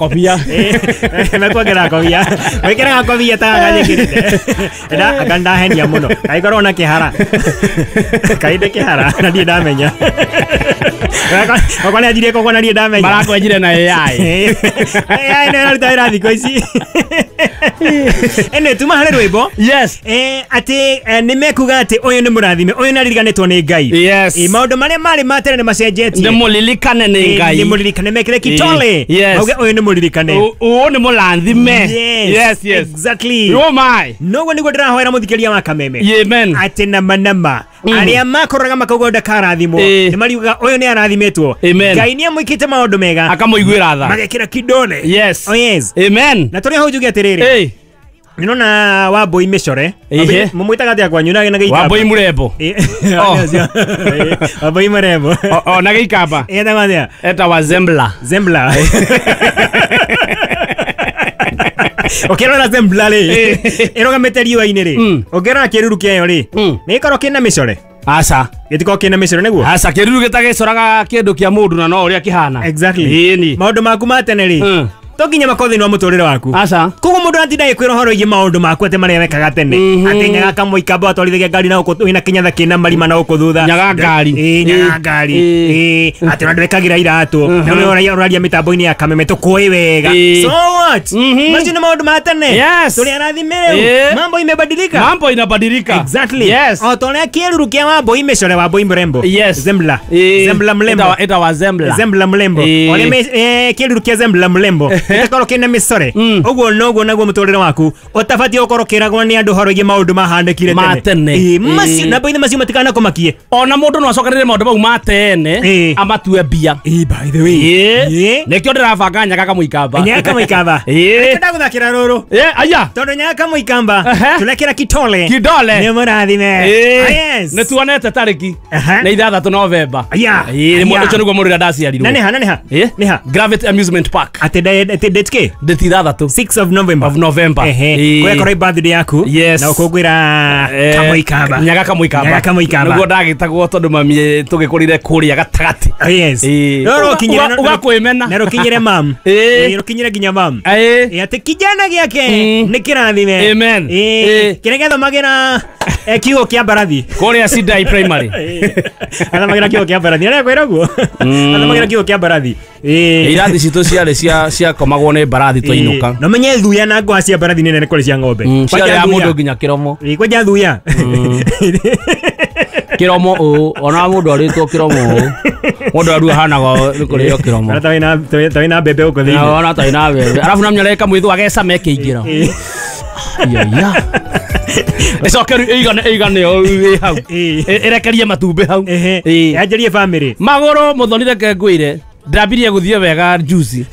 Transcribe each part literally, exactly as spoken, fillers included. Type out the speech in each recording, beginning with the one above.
Kobia. Mekuongerera kobia. Wikiraga kobia ta ganyikirite. Nda anga ndahenia muno. Kaikorwo na kihara. Kainde kihara na ndirĩ ndamenya. Okwa nĩanjirie kokwa na ndirĩ ndamenya. Marakwenjire na A I. A I nĩ ĩraruta wĩra thikũ ici. Ene tuma harĩ rwĩmbo. Yes. Eh atĩ nĩ mekuga atĩ ũyũ nĩ mũrathime, ũyũ nĩ aririkanĩtwo nĩ Ngai. Yes. Maũndũ marĩa marĩ ma tene nĩ macenjetie. Nĩ mũririkane nĩ Ngai. Nĩ mũririkane mekĩre kitole. Yes. Mauge ũyũ nĩ mũririkane. Ũyũ nĩ mũrathime. Yes. Yes, yes. Exactly. Oh my. Noguo nĩguo ndĩrahoera mũthikĩria wa Kameme. Amen. Atĩ nama nama. Arĩa makoraga makauga ndakarathimwo Eh. nĩ mariugaga ũyũ nĩ arathimĩtwo. Amen. Ngai nĩ amwĩkĩte maũndũ mega. Akamũiguĩra tha. Magekĩra kidole. Yes. Oh yes. Amen. Na tũrĩ hau njuge atĩrĩrĩ. Hey. Nĩnona Wambui mĩcore. Ihe. Mũmwĩtaga atĩa kwanyu na gĩikamba? Wambui mũrembo. Eh, Oh. eh, Wambui mũrembo. O o na gĩikamba. Etagwo atĩa? Etagwo Zembla. Zembla. Ũkĩrora Zembla rĩ, ĩrũgamĩte riũa-inĩ rĩ, Mm. ũngĩrora kĩruru kĩayo rĩ, Mm. nĩ gĩkoragwo kĩna mĩcore? Aca. Gĩtikoragwo kĩna mĩcore nĩguo? Aca kĩruru gĩtagĩcoraga kĩndũ kĩa mũndũ na no ũrĩa kĩhana. Exactly. Ĩni. Maũndũ maku ma tene rĩ, Mm. to nginya makorwo thĩinĩ wa mũtũrĩre waku. Aca. Koguo mũndũ atinda agĩkwĩra ũhoro wĩgiĩ maũndũ maku atĩ marĩa wekaga tene. Mhm. Atĩ nyaga kamũikamba watwarithagia ngari na gũkũ wĩna kĩnyatha kĩna marima na gũkũ thutha. Nyaga ngari. Ĩĩ, nyaga ngari. Ĩĩ. Ĩĩ, atĩ ona ndwĩkagĩra iratũ. Na nĩ ũraria ũraria mĩtambo-inĩ ya Kameme tũkũĩ wega. Ĩĩ. So what? Mhm. Macio nĩ maũndũ ma tene. Yes. Tũrĩ arathime rĩu. Ĩĩ. Mambo imebadilika. Mambo inabadilika. Exactly. Yes. O ta ũrĩa kĩruru kĩa Wambui mĩcore Wambui mrembo. Yes. Zembla. Ĩĩ. Zembla mrembo. Etawa etawa Zembla. Zembla mrembo. Ĩĩ. Ũrĩa me- eh, kĩruru kĩa Zembla mrembo. Gĩtakorwo kĩna mĩcore. Mm. Ũguo noguo naguo mũtũrĩre waku ũtabatiĩ gũkorwo ũkĩragwo nĩ andũ ũhoro wĩgiĩ maũndũ mahanĩkire Ma tene. Ĩĩ, macio Ĩĩ. na boithe macio matikanakũmakie. Ona mũndũ no acokanĩrĩre maũndũ mau ma tene Ĩĩ. amatue mbia. Ĩĩ, by the way. Ĩĩ. Ĩĩ. Nĩkĩo ndĩrabanga nyaga kamũikamba. Nyaga kamũikamba. Ĩĩ. Nĩkĩo ndagũthakĩra rũrũ. Ĩĩ, aya. Tondũ nyaga kamũikamba Ehe. tũrekĩra kitole. Kidole. Nĩ mũrathime. Ĩĩ. Ah, yes. Nĩ tuonete tarĩki. Aha. Nĩ ithathatũ Novemba. Aya. Ĩĩ, Aya. ũcio nĩguo mũrĩra ndaciarirwo. Na nĩ ha, na nĩ ha? Ĩĩ. Nĩ ha? Gravity Amusement Park. Atĩ nda- atĩ date kĩ? Date ithathatũ sixth of November. of November. Ehe. Ĩĩ. Kũrĩa korwo birthday yaku. Yes. Na ũkũngũĩra Eh, kamũikamba. Nyaga kamũikamba. Nyaga kamũikamba. Nĩguo ndagĩtagwo tondũ mami tũgĩkũrire kũrĩa gatagatĩ. Oh, yes. Ĩĩ. No rũkinyĩre Uga- ugakwĩmena. Na rũkinyĩre mam. Ĩĩ. Ĩĩ, rũkinyĩre nginya mam. Ĩĩ. Ĩĩ, atĩ kijana gĩake Mm. nĩ kĩrathime. Amen. Ĩĩ, Ĩĩ. kĩrĩa gĩathomagĩra eh, kiugo kĩa mbarathi. Kũrĩa Sidai Primary. Athomagĩra kiugo kĩa mbarathi. Nĩ kwĩra ũguo. Athomagĩra kiugo kĩa mbarathi. Ĩĩ. Irathi citũ ciarĩ cia ciakomagwo nĩ mbarathi twainũka. Na menye thuya na ngwa cia mbarathi nĩ nene kũrĩ cia ng'ombe. Mm, Kwanja ciarĩ ya thuya. mũndũ nginya kĩromo. Ĩĩ, kwanja thuya. Kĩromo ũũ ona mũndũ arĩtwo kĩromo ũũ mũndũ arua hanaga nĩ kũrĩo kĩromo. Kana ta wĩna ta wĩna mbembe gũkũ Na thĩinĩ. ona ta ina mbembe arabu na mnyareka mwithu agecama ĩkĩingĩra. Iya. Ĩcoke rĩu ĩigane ĩigane ũũ ĩ hau. Ĩĩ. Ĩ- ĩrekerie matumbĩ hau. Ehe. Ĩĩ. Yanjĩrie family. Magũrũ mũthoni reke ngwĩre ndambirie gũthiĩ wega juicy.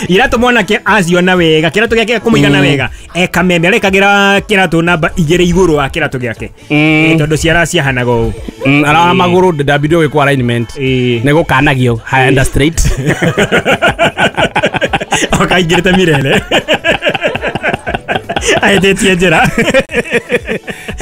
Iratũ mwanake aciona wega kĩratũ gĩake kũmũigana wega e Kameme arekagĩra kĩratũ namba igĩrĩ igũrũ wa kĩratũ gĩake. Ĩĩ, tondũ ciara ciahanaga ũũ. Mm, ara magũrũ ndambirie gwĩkwo alignment. Ĩĩ. Nĩ gũkanagio high and straight. Okaingĩrĩte mirere. Ahetĩtie njĩra.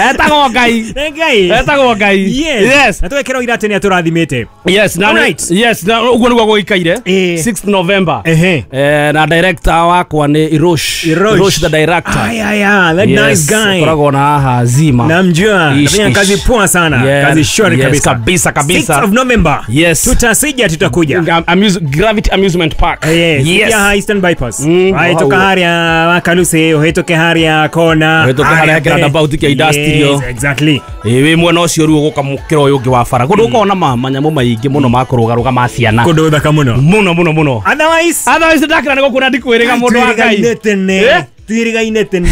Etagwo Ngai. Nĩ Ngai. Etagwo Ngai. Yes. Yes. Na twekĩra iratũ nĩ atũrathimĩte. Yes, na Alright. yes, na ũguo nĩguo gũikaire. Ĩĩ. sixth November. Ehe. Eh, na director wakwa nĩ Irosh. Irosh. Irosh the director. Ay, ay, ay, that Yes, nice guy. Koragwo na haha Zima. Namjua. Ish, Anafanya ish. kazi poa sana. Yeah. Kazi shwari Yes, kabisa. kabisa, kabisa. sixth of November. Yes. Tutasija tutakuja. Am- Amuse, Gravity Amusement Park. Yes. Yes. Ya Eastern Bypass. Mm, Wahĩtũka hau. harĩa Wakaluse, ũhĩtũke harĩa kona. Ũhĩtũke harĩa mbere. roundabout kĩa industrial. Yes, exactly. Ĩĩ, wĩ mwena ũcio rĩu ũgũka mũkĩra ũyũ ũngĩ wa bara kũndũ ũkoragwo na ma- manyamũ maingĩ mũno ma kũrũgarũga ma ciana Kũndũ thaka mũno. mũno mũno mũno. Otherwise, Otherwise ndakĩra nĩ gũkuona ndikwĩrĩga mũndũ wa Ngai. twĩrĩgaine tene. Eh? Twĩrĩgaine tene.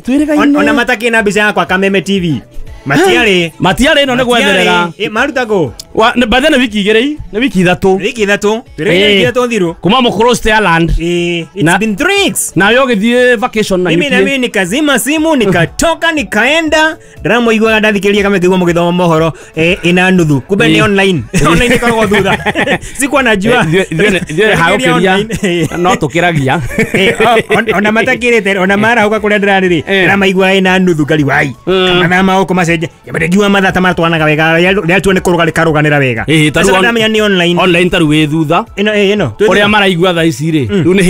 Twĩrĩgaine. On- Ona matakĩ na mbica yakwa Kameme T V. Matiarĩ. Matiarĩ ĩno nĩ gwetherera. Matiarĩ. Ĩ, maruta kũ? Wa- nĩ- by the way, nĩ wiki igĩrĩ nĩ wiki ithatũ. Wiki ithatũ. Twĩrĩgaine Ĩĩ. wiki ithatũ thiru. Kuma mũkũrũ stay land. Ĩ, it's Na- been three weeks. Nawe ũgĩthiĩ vacation na Mimi na U K. mimi nikazima simu nikatoka nikaenda ndĩramũiguaga ndathikĩrĩria kama kĩguo mũgĩthoma mohoro eh, ina nuthu kumbe nĩ Ĩ. online online ĩkoragwo thutha sikuwa najua Eh, ithuĩ- ithuĩ nĩ- ithuĩ Ndathikĩrĩria hagũkĩria online. no tũkĩragia. Eh, o- on- ona matakĩrĩte ona marahũka kũrĩa ndĩrarĩ rĩ Eh. ndĩramaigua ina nuthu ngari wai Mm. mathaa ma gũkũ macenjetie. Gũcenjia ngiuga mathaa ta matwanaga wega, rĩatua nĩ kũrũga rĩkarũganĩra wega. Ĩĩ, ta rĩu Ũcoka on- ndamenya nĩ online. Online ta rĩu wĩ thutha. Ĩno ĩĩ, ĩno Ũrĩa maraigua thaa ici rĩ, rĩu nĩ